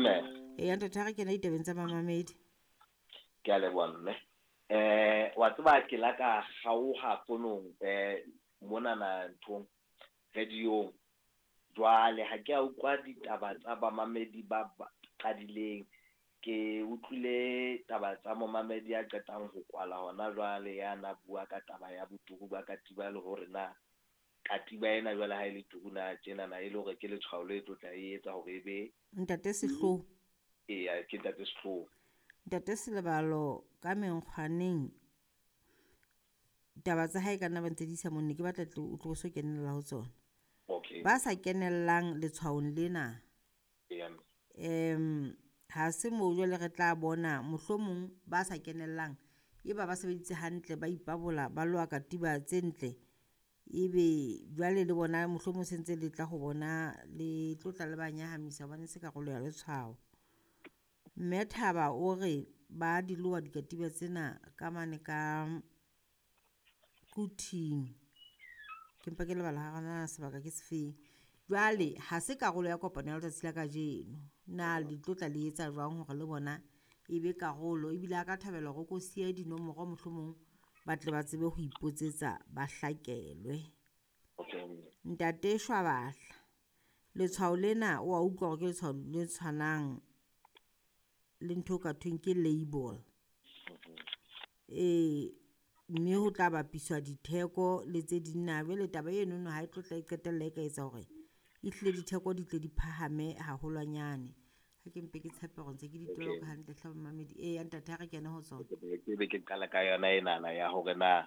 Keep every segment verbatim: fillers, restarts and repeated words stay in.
Mme. Eya ntate, ha re kena ditabeng tsa mamamedi. Ke a leboha mme. Eh wa tseba ke la ka kgaoha fonong eh monana nthong radio-ng. Jwale ha ke a utlwa ditaba tsa bamamedi ba qadileng. Ke utlwile taba tsa momamedi ya qetang ho kwala hona jwale ya na bua ka taba ya boturu ba katiba le hore na katiba ena jwale ha e le turu na tjenana e le hore ke letshwao le tlo tla e etsa hore e be Ntate Sehloho. Eya, ke ntate Sehloho. Ntate Selebalo ka menkgwaneng taba tsa hae ka nna ba ntse di isa monne ke batla o tlo so kenella ho tsona. Okay. Ba sa kenellang letshwaong lena. Eya. Em ha se moo jwale re tla bona mohlomong ba sa kenellang e ba ba sebeditse hantle ba ipabola ba loa katiba tse ntle ebe jwale le bona mohlomong se ntse le tla ho bona le tlo tla le ba nyahamisa hobane se karolo ya letshwao. Mme Thaba o re ba di loa dikatiba tsena ka mane ka Quthing. Ke mpa ke lebala hore na sebaka ke sefeng. Jwale ha se karolo ya kopano ya letsatsi la kajeno. Na le tlo tla le etsa jwang hore le bona e be karolo ebile a ka thabela hore o ko siye dinomoro mohlomong ba tle ba tsebe ho ipotsetsa ba hlakelwe. Okay. Ntate Shwabahla, letshwao lena o a utlwa hore ke letshwao le tshwanang le ntho ka thweng ke label. Eh mme ho tla bapiswa ditheko le tse ding na jwale taba enono ha e tlo tla e qetella e ka etsa hore ehlile ditheko di tle di phahame haholwanyane. Ha ke mpe ke tshepe hore ntse ke di toloka hantle hle mamedi. Eya ntate, ha re kene ho tsona. Ke be ke qala ka yona enana ya hore na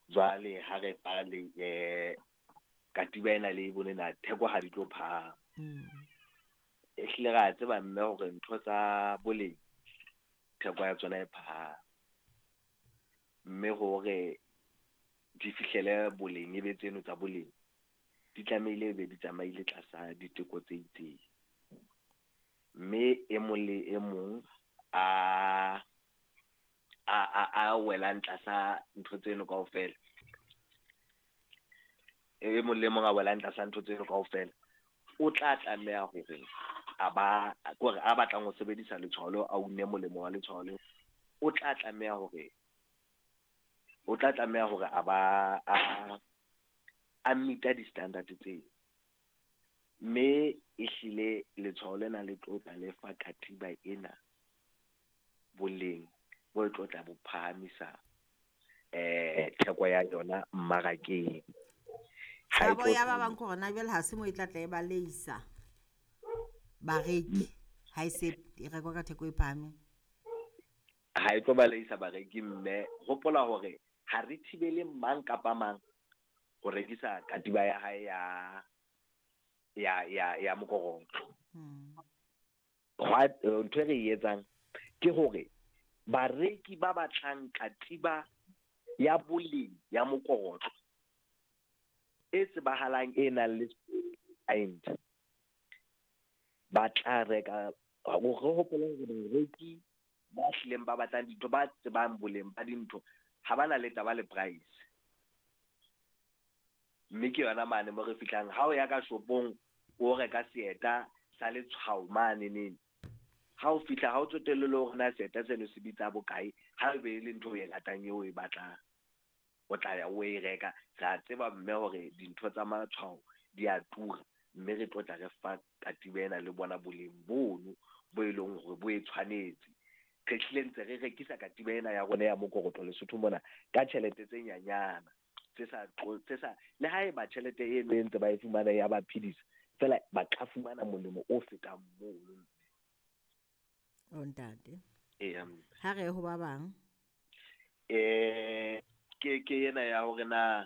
jwale ha re pale eh katiba ena le e bone na theko ha di tlo phahama. Ehlile ra tseba mme hore ntho tsa boleng theko ya tsona e phahame. Mme hore di fihlele boleng e be tseno tsa boleng di tlamehile e be di tsamaile tlasa diteko tse itseng. Mme e mong le e mong a a a a welang tlasa ntho tseno kaofela, e mong le mong a welang tlasa ntho tseno kaofela o tla tlameha hore a ba kore a batlang ho sebedisa letshwao leo, a une molemo wa letshwao leo, o tla tlameha hore o tla tlameha hore a ba a a meet-a di-standard tseo. Mme ehlile letshwao lena le tlo tla le fa katiba ena boleng bo tlo tla bo phahamisa eh theko ya yona mmarakeng. Tshabo ya ba bang ke hore na jwale ha se mo e tla tla e baleisa bareki ha e se e rekwa ka theko e phahameng. Ha e tlo baleisa bareki mme hopola hore ha re thibele mang kapa mang ho rekisa katiba ya hae ya ya ya ya mokorotlo. Hwa ntho e re e etsang ke hore bareki ba batlang katiba ya boleng ya mokorotlo e tsebahalang e nang le point ba tla reka. Re hopole hore bareki ba hlileng ba batlang dintho, ba tsebang boleng ba dintho, ha ba na le taba le price. Mme ke yona mane mo re fihlang ha o ya ka shopong o reka seeta sa letshwao mane neng, ha o fihla ha o tsotelle le hore na seeta seno se bitsa bokae, ha e be le ntho o e ratang eo o e batlang, o tla ya o e reka. Re a tseba mme hore dintho tsa matshwao di a tura, mme re tlo tla re fa katiba ena le bona boleng bono bo e leng hore bo e tshwanetse. Re hlile ntse re rekisa katiba ena ya rona ya mokorotlo Lesotho mona ka tjhelete tse nyanyana tse sa tse sa le haeba tjhelete eno e ntse ba e fumana ya ba phedisa fela, ba ka fumana molemo o fetang mono. O ntate. Eya. Ha re ho ba bang. Eh ke ke ena ya hore na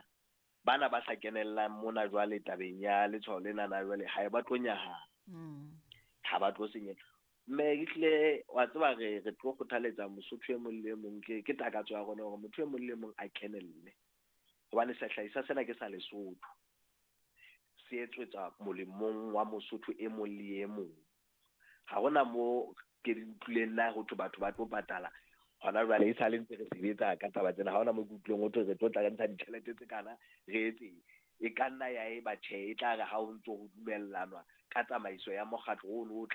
bana ba sa kenellang mona jwale tabeng ya letshwao lena na jwale ha e ba tlo nyahama. Mm. Ha ba tlo senyeha. Mme ehlile wa tseba re re tlo kgothaletsa Mosotho e mong le mong, ke ke takatso ya rona hore motho e mong le mong a kenelle. Hobane sehlahiswa sena ke sa Lesotho. Se etswetsa molemong wa Mosotho e mong le e mong. Ha hona mo ke utlwileng na ho thwe batho ba tlo patala hona jwale e sale ntse re sebetsa ka taba tsena. Ha hona mo ke utlwileng ho thwe re tlo tla re ntsha ditjhelete tse kana re etse. E ka nna ya eba tjhe, e tla re ha o ntso ho dumellanwa ka tsamaiso ya mokgatlo ono o tla